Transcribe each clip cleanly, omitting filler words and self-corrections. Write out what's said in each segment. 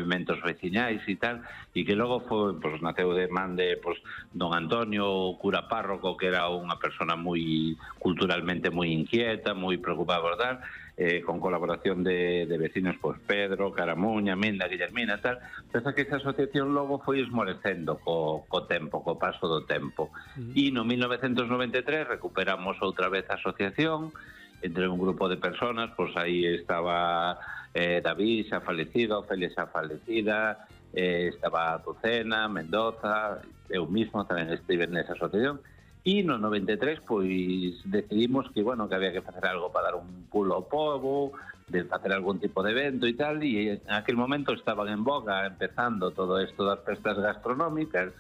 movimentos veciñais e tal, e que logo foi, pois, naceu de man de don Antonio, cura párroco, que era unha persona moi culturalmente moi inquieta, moi preocupada por tal, con colaboración de vecinos, pois Pedro, Caramuña, Minda, Guillermina, tal. Pensa que esa asociación logo foi esmorecendo co tempo, co paso do tempo. E no 1993 recuperamos outra vez a asociación entre un grupo de personas, pois aí estaba David xa falecido, Ofelia xa falecida, estaba Azucena, Mendoza, eu mismo tamén estive nesa asociación. E no 93 pois decidimos que, bueno, que había que facer algo para dar un pulo ao pobo, de facer algún tipo de evento e tal, e en aquel momento estaban en boga empezando todo isto das festas gastronómicas,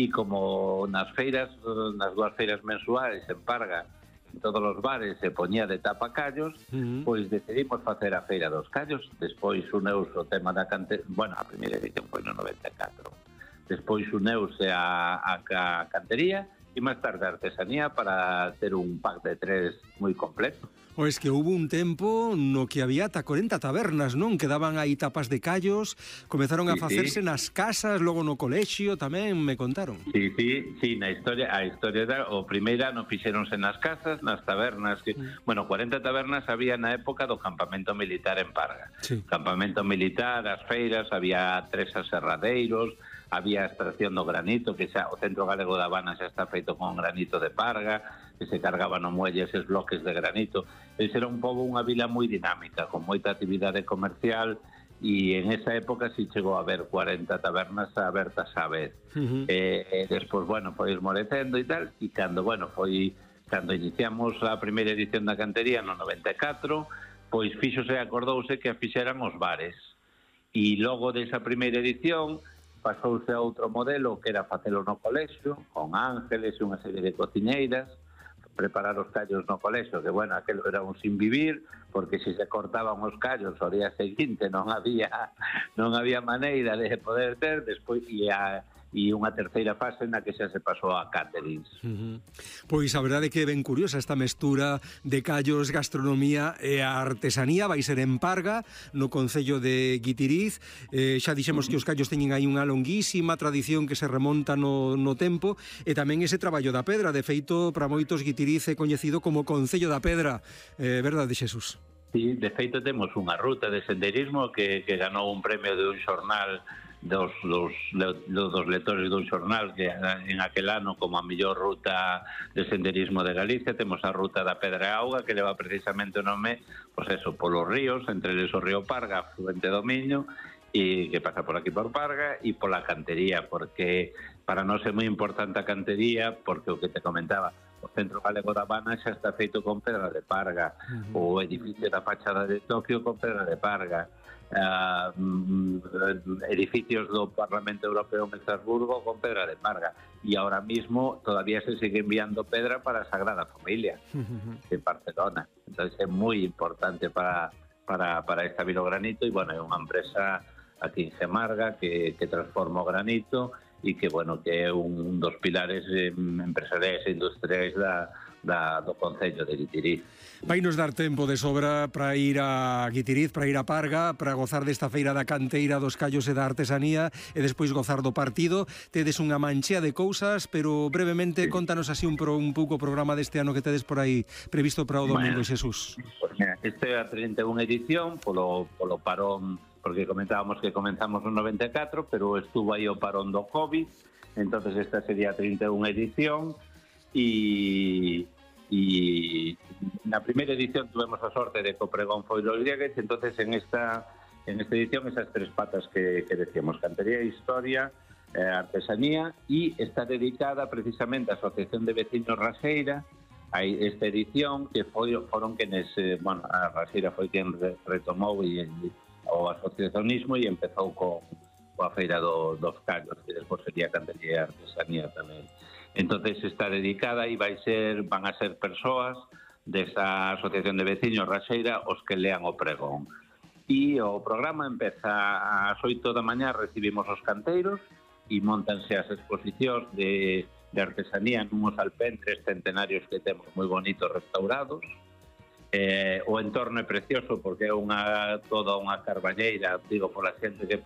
e como nas feiras, nas dúas feiras mensuais en Parga, en todos os bares se poñía de tapacallos, pois decidimos facer a Feira dos Callos. Despois uneuse o tema da cantería, bueno, a primeira edición foi no 94, despois uneuse a cantería e máis tarde a artesanía para ter un pack de tres moi completo. O es que hubo un tempo no que había ata 40 tabernas, non? Que daban aí tapas de callos, comezaron a facerse nas casas, logo no colexio tamén, me contaron. Sí, a historia da, o primeiro ano fixeronse nas casas, nas tabernas, que, bueno, 40 tabernas había na época do campamento militar en Parga. Sí. Campamento militar, as feiras, había 3 aserradeiros, había a extracción do granito, que xa o Centro Galego da Habana xa está feito con granito de Parga, que se cargaban no muelle eses bloques de granito. Ese era un pouco unha vila moi dinámica, con moita actividade comercial, e en esa época si chegou a haber 40 tabernas abertas á vez. Despois, bueno, foi esmorecendo e tal, e cando iniciamos a primeira edición da cantería no 94, pois fíxose, acordouse que a fixeran os bares. E logo desa primeira edición pasouse a outro modelo, que era facelo no colexio, con ángeles e unha serie de cociñeiras, preparar os callos no colexio, que, bueno, aquelo era un sin vivir, porque se cortaban os callos ao día seguinte non había maneira de poder ter, despois e unha terceira fase na que xa se pasou a caterings. Pois a verdade é que é ben curiosa esta mestura de callos, gastronomía e a artesanía. Vai ser en Parga, no concello de Guitiriz. Xa dixemos que os callos teñen aí unha longuísima tradición que se remonta no tempo, e tamén ese traballo da pedra. De feito, para moitos, Guitiriz é coñecido como Concello da Pedra. Verdade, Xesús? Sí, de feito temos unha ruta de senderismo que ganou un premio de un xornal dos lectores dun xornal, que en aquel ano como a mellor ruta de senderismo de Galicia. Temos a ruta da Pedra e Auga, que leva precisamente o nome, pois eso, polos ríos, entre eles o río Parga, afluente do Miño, e que pasa por aquí por Parga, e pola cantería, porque para nós é moi importante a cantería, porque o que te comentaba, o Centro Galego da Habana xa está feito con pedra de Parga, o edificio da fachada de Tokio con pedra de Parga, edificios do Parlamento Europeo en Estrasburgo con pedra de Parga, e ahora mismo todavía se sigue enviando pedra para a Sagrada Familia de Barcelona. Entonces é moi importante para esta Vilogranito, e, bueno, é unha empresa aquí en Gemarga que transforma o granito, e que, bueno, que é un dos pilares empresariais e industriais do Concello de Guitiriz. Vai nos dar tempo de sobra para ir a Guitiriz, para ir a Parga, para gozar desta feira da canteira, dos callos e da artesanía, e despois gozar do partido. Tedes unha manchea de cousas, pero brevemente contanos así un pouco o programa deste ano que tedes por aí previsto para o domingo, Xesús. Pues mira, este é a 31 edición polo parón, porque comentábamos que comenzamos no 94, pero estuvo aí o parón do COVID, entonces esta sería a 31 edición, e na primeira edición tuvemos a sorte de que o pregón foi los Diegues. Entonces en esta edición esas tres patas que decíamos, cantería, historia, artesanía, e está dedicada precisamente á Asociación de Vecinos Raseira. Hai esta edición que foron quenes, bueno, a Raseira foi quen retomou o asociacionismo e empezou coa feira dos callos, que despois sería cantería e artesanía tamén. Entonces está dedicada e van a ser persoas desa Asociación de Veciños Raseira os que lean o pregón. E o programa empeza ás 8 da mañá, recibimos os canteiros e montanse as exposicións de artesanía nuns alpendres centenarios que temos moi bonitos restaurados. O entorno é precioso porque é toda unha carballeira, digo, pola xente que